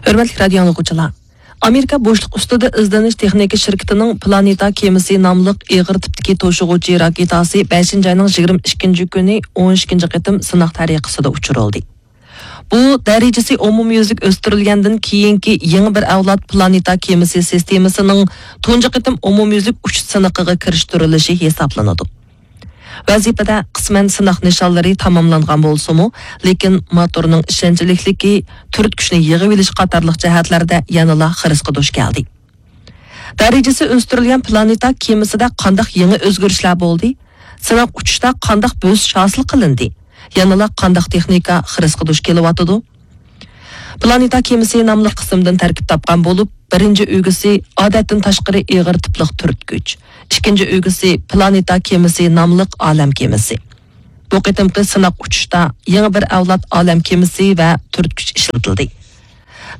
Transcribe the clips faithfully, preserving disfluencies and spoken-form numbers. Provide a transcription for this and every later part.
ھۆرمەتلىك رادىيو ئاڭلىغۇچىلار! ئامېرىكا بوشلۇق ئۈستىدە ئىزدىنىش تېخنىكا شىركىتىنىڭ پلانېتا كېمىسى ناملىق ئېغىر تىپتىكى توشۇغۇچى راكېتاسى بەشىنچى ئاينىڭ يىگىرمە ئىككىنچى كۈنى ئون ئىككىنچى قېتىم سىناق تەرىقىسىدە ئۇچۇرۇلدى. بۇ، دەرىجىسى ئومۇميۈزلۈك ئۆستۈرۈلگەندىن كېيىنكى يېڭى بىر ئەۋلاد پلانېتا كېمىسى سىستېمىسىنىڭ تۇنجى قېتىم ئومۇميۈزلۈك ئۇچۇش سىنىقىغا كىرىشتۈرۈلۈشى ھېسابلىنىدۇ. ۋەزىپىدە قىسمەن سىناق نىشانلىرى تاماملانغان بولسىمۇ، لېكىن موتورنىڭ ئىشەنچلىكلىكى، تۈرتكۈچنى يىغىۋېلىش قاتارلىق جەھەتلەردە يەنىلا خىرىسقا دۇچ كەلدى. دەرىجىسى ئۆستۈرۈلگەن پلانېتا كېمىسىدە قانداق يېڭى ئۆزگىرىشلەر بولدى؟ سىناق ئۇچۇشتا قانداق بۆسۈش ھاسىل قىلىندى؟ يەنىلا قانداق تېخنىكا خىرىسقا دۇچ كېلىۋاتىدۇ؟ پلانېتا كېمىسى ناملىق قىسىمدىن تەركىب تاپقان بولۇپ، بىرىنچى ئۈلگىسى ئادەتتىن تاشقىرى ئېغىر تىپلىق تۈرتكۈچ، ئىككىنچى ئۈلگىسى پلانېتا كېمىسى ناملىق ئالەم كېمىسى. بۇ قېتىمقى سىناق ئۇچۇشتا يېڭى بىر ئەۋلاد ئالەم كېمىسى ۋە تۈرتكۈچ ئىشلىتىلدى.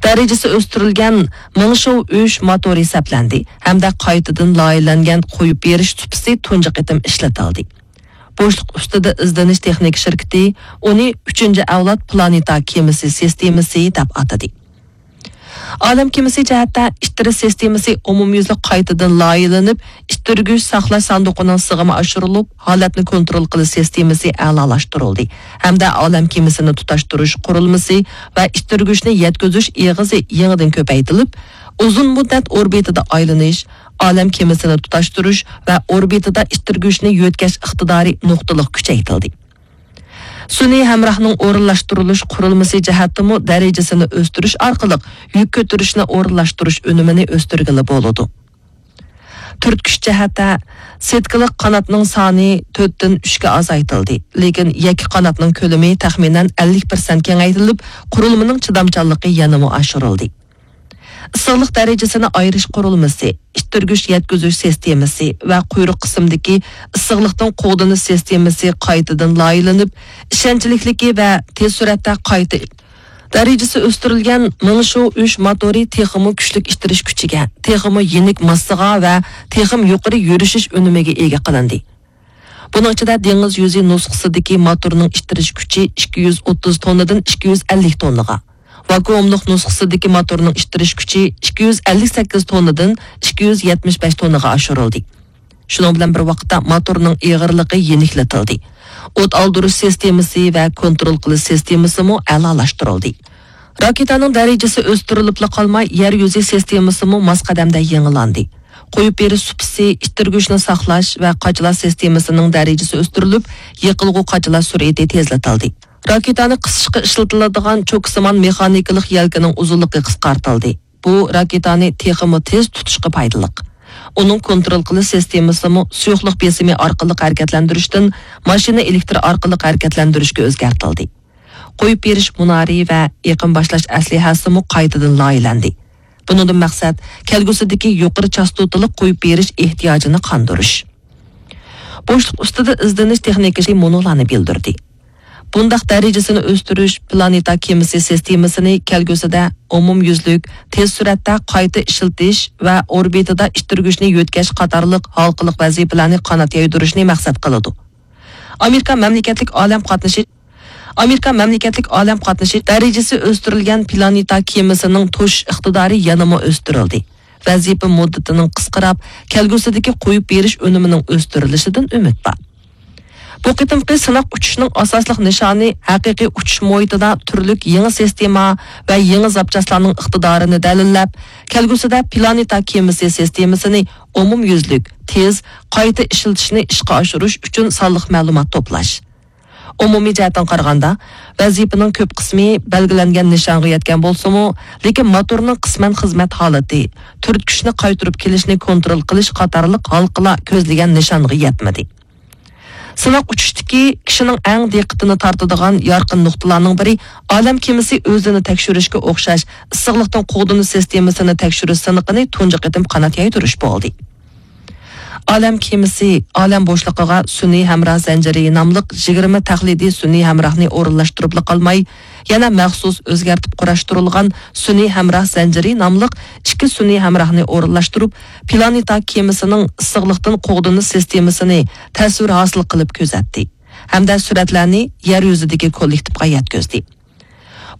دەرىجىسى ئۆستۈرۈلگەن مىڭشوۋ ئۈچ موتورى سەپلەندى ھەمدە قايتىدىن لايىھەلەنگەن قويۇپ بېرىش سۇپىسى تۇنجى قېتىم ئىشلىتىلدى. بوشلۇق ئۈستىدە ئىزدىنىش تېخنىكا شىركىتى ئۇنى ئۈچىنچى ئەۋلاد پلانېتا كېمىسى سىستېمىسى دەپ ئاتىدى. ئالەم كېمىسى جەھەتتە ئىتتىرىش سىستېمىسى ئومۇميۈزلۈك قايتىدىن لايىھەلىنىپ، ئىتتىرگۈچ ساقلاش ساندۇقىنىڭ سىغىمى ئاشۇرۇلۇپ، ھالەتنى كونترول قىلىش سىستېمىسى ئەلالاشتۇرۇلدى ھەمدە ئالەم كېمىسىنى تۇتاشتۇرۇش قۇرۇلمىسى ۋە ئىتتىرگۈچنى يەتكۈزۈش ئېغىزى يېڭىدىن كۆپەيتىلىپ، ئۇزۇن مۇددەت ئوربىتىدا ئايلىنىش، ئالەم كېمىسىنى تۇتاشتۇرۇش ۋە ئوربىتىدا ئىتتىرگۈچنى يۆتكەش ئىقتىدارى نۇقتىلىق كۈچەيتىلدى. سۈنئىي ھەمراھنىڭ ئورۇنلاشتۇرۇلۇش قۇرۇلمىسى جەھەتتىمۇ دەرىجىسىنى ئۆستۈرۈش ئارقىلىق يۈك كۆتۈرۈشنى ئورۇنلاشتۇرۇش ئۈنۈمىنى ئۆستۈرگىلى بولىدۇ. تۈرتكۈچ جەھەتتە، سېتكىلىق قاناتنىڭ سانى تۆتتىن ئۈچكە ئازايتىلدى، لېكىن يەككە قاناتنىڭ كۆلىمى تەخمىنەن ئەللىك پىرسەنت كېڭەيتىلىپ، قۇرۇلمىنىڭ چىدامچانلىقى يەنىمۇ ئاشۇرۇلدى. ئىسسىقلىق دەرىجىسىنى ئايرىش قۇرۇلمىسى، ئىتتىرگۈچ يەتكۈزۈش سىستېمىسى ۋە قۇيرۇق قىسمىدىكى ئىسسىقلىقتىن قوغدىنىش سىستېمىسى قايتىدىن لايىھەلىنىپ، ئىشەنچلىكلىكى ۋە تېز سۈرئەتتە قايتا دەرىجىسى ئۆستۈرۈلگەن مىڭشۇ ئۈچ موتورى تېخىمۇ كۈچلۈك ئىتتىرىش كۈچىگە، تېخىمۇ يېنىك ماسسىغا ۋە تېخىمۇ يۇقىرى يۈرۈشۈش ئۈنۈمىگە ئىگە قىلىندى. بۇنىڭ ئىچىدە دېڭىز يۈزى نۇسخىسىدىكى موتورنىڭ ئىتتىرىش كۈچى ئىككى يۈز ئوتتۇز توننىدىن ئىككى يۈز ئەللىك توننىغا، ۋاكۇئۇملۇق نۇسخىسىدىكى موتورنىڭ ئىتتىرىش كۈچى ئىككى يۈز ئەللىك سەككىز توننىدىن ئىككى يۈز يەتمىش بەش توننىغا ئاشۇرۇلدى. شۇنىڭ بىلەن بىر ۋاقىتتا موتورنىڭ ئېغىرلىقى يېنىكلىتىلدى. ئوت ئالدۇرۇش سىستېمىسى ۋە كونترول قىلىش سىستېمىسىمۇ ئەلالاشتۇرۇلدى. راكېتانىڭ دەرىجىسى ئۆستۈرۈلۈپلا قالماي، يەر يۈزى سىستېمىسىمۇ ماس قەدەمدە يېڭىلاندى. قويۇپ بېرىش سۇپىسى، ئىتتىرگۈچنى ساقلاش ۋە قاچىلاش سىستېمىسىنىڭ دەرىجىسى ئۆستۈرۈلۈپ، يېقىلغۇ قاچىلاش سۈرئىتى تېزلىتىلدى. راكېتانى قىسىشقا ئىشلىتىلىدىغان چوكىسىمان مېخانىكىلىق يەلكىنىڭ ئۇزۇنلۇقى قىسقارتىلدى. بۇ راكېتانى تېخىمۇ تېز تۇتۇشقا پايدىلىق. ئۇنىڭ كونترول قىلىش سىستېمىسىمۇ سۇيۇقلۇق بېسىمى ئارقىلىق ھەرىكەتلەندۈرۈشتىن ماشىنا ئېلېكتر ئارقىلىق ھەرىكەتلەندۈرۈشكە ئۆزگەرتىلدى. قويۇپ بېرىش مۇنارى ۋە ئېقىم باشلاش ئەسلىھەسىمۇ قايتىدىن لايىھەلەندى. بۇنىڭدىن مەقسەت، كەلگۈسىدىكى يۇقىرى چاستوتىلىق قويۇپ بېرىش ئېھتىياجىنى قاندۇرۇش. بوشلۇق ئۈستىدە ئىزدىنىش تېخنىكىسى مۇنۇلارنى بىلدۈردى. بۇنداق دەرىجىسىنى ئۆستۈرۈش پلانېتا كېمىسى سىستېمىسىنى كەلگۈسىدە ئومۇميۈزلۈك، تېز سۈرئەتتە قايتا ئىشلىتىش ۋە ئوربىتىدا ئىتتىرگۈچنى يۆتكەش قاتارلىق ھالقىلىق ۋەزىپىلەرنى قانات يايدۇرۇشنى مەقسەت قىلىدۇ. ئامېرىكا مەملىكەتلىك ئالەم قاتنىشى ئامېرىكا مەملىكەتلىك ئالەم قاتنىشى دەرىجىسى ئۆستۈرۈلگەن پلانېتا كېمىسىنىڭ توشۇش ئىقتىدارى يەنىمۇ ئۆستۈرۈلدى. ۋەزىپە مۇددىتىنىڭ قىسقىراپ، كەلگۈسىدىكى قويۇپ بېرىش ئۈنۈمىنىڭ ئۆستۈرۈلۈشىدىن ئۈمىد بار. بۇ قېتىمقى سىناق ئۇچۇشنىڭ ئاساسلىق نىشانى ھەقىقىي ئۇچۇش مۇھىتىدا تۈرلۈك يېڭى سىستېما ۋە يېڭى زاپچاسلارنىڭ ئىقتىدارىنى دەلىللەپ، كەلگۈسىدە پلانېتا كېمىسى سىستېمىسىنى ئومۇميۈزلۈك، تېز، قايتا ئىشلىتىشنى ئىشقا ئاشۇرۇش ئۈچۈن سانلىق مەلۇمات توپلاش. ئومۇمىي جەھەتتىن قارىغاندا، ۋەزىپىنىڭ كۆپ قىسمى بەلگىلەنگەن نىشانغا يەتكەن بولسىمۇ، لېكىن موتورنىڭ قىسمەن خىزمەت ھالىتى، تۈرتكۈچنى قايتۇرۇپ كېلىشنى كونترول قىلىش قاتارلىق ھالقىلار كۆزلىگەن نىشانغا يەتمىدى. سىناق ئۇچۇشتىكى كىشىنىڭ ئەڭ دىققىتىنى تارتىدىغان يارقىن نۇقتىلارنىڭ بىرى، ئالەم كېمىسى ئۆزىنى تەكشۈرۈشكە ئوخشاش ئىسسىقلىقتىن قوغدىنىش سىستېمىسىنى تەكشۈرۈش سىنىقىنى تۇنجى قېتىم قانات يايدۇرۇش بولدى. ئالەم كېمىسى ئالەم بوشلۇقىغا سۈنئىي ھەمراھ زەنجىرى ناملىق يىگىرمە تەقلىدىي سۈنئىي ھەمراھنى ئورۇنلاشتۇرۇپلا قالماي، يەنە مەخسۇس ئۆزگەرتىپ قۇراشتۇرۇلغان سۈنئىي ھەمراھ زەنجىرى ناملىق ئىككى سۈنئىي ھەمراھنى ئورۇنلاشتۇرۇپ، پلانېتا كېمىسىنىڭ ئىسسىقلىقتىن قوغدىنىش سىستېمىسىنى تەسۋىر ھاسىل قىلىپ كۆزەتتى ھەمدە سۈرەتلەرنى يەر يۈزىدىكى كوللېكتىپقا يەتكۈزدى.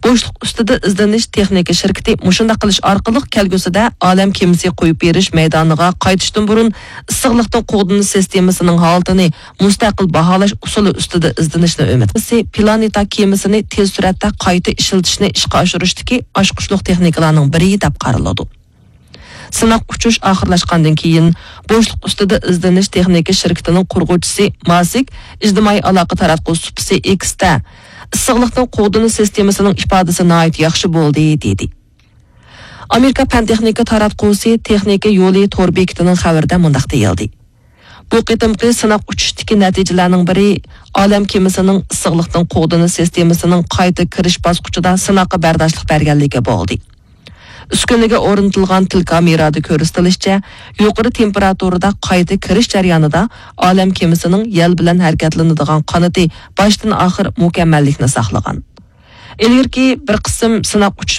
بوشلۇق ئۈستىدە ئىزدىنىش تېخنىكا شىركىتى مۇشۇنداق قىلىش ئارقىلىق كەلگۈسىدە ئالەم كېمىسى قويۇپ بېرىش مەيدانىغا قايتىشتىن بۇرۇن ئىسسىقلىقتىن قوغدىنىش سىستېمىسىنىڭ ھالىتىنى مۇستەقىل باھالاش ئۇسۇلى ئۈستىدە ئىزدىنىشنى ئۈمىد قىلىسى، پلانېتا كېمىسىنى تېز سۈرئەتتە قايتا ئىشلىتىشنى ئىشقا ئاشۇرۇشتىكى ئاچقۇچلۇق تېخنىكىلارنىڭ بىرى دەپ قارىلىدۇ. سىناق ئۇچۇش ئاخىرلاشقاندىن كېيىن، بوشلۇق ئۈستىدە ئىزدىنىش تېخنىكا شىركىتىنىڭ قۇرغۇچىسى ماسك ئىجتىمائىي ئالاقە تاراتقۇ سۇپىسى ئېكستە ئىسسىقلىقتىن قوغدىنىش سىستېمىسىنىڭ ئىپادىسى ناھايىتى ياخشى بولدى، دېدى. ئامېرىكا پەن تېخنىكا تاراتقۇسى تېخنىكا يولى تور بېكىتىنىڭ خەۋىرىدە مۇنداق دېيىلدى: بۇ قېتىمقى سىناق ئۇچۇشتىكى نەتىجىلەرنىڭ بىرى ئالەم كېمىسىنىڭ ئىسسىقلىقتىن قوغدىنىش سىستېمىسىنىڭ قايتا كىرىش باسقۇچىدا سىناققا بەرداشلىق بەرگەنلىكى بولدى. ئۈسكۈنىگە ئورنىتىلغان تېلېكامېرادا كۆرسىتىلىشىچە، يۇقىرى تېمپېراتۇرىدا قايتا كىرىش جەريانىدا ئالەم كېمىسىنىڭ يەل بىلەن ھەرىكەتلىنىدىغان قانىتى باشتىن ئاخىر مۇكەممەللىكنى ساقلىغان. ئىلگىرىكى بىر قىسىم سىناق ئۇچۇش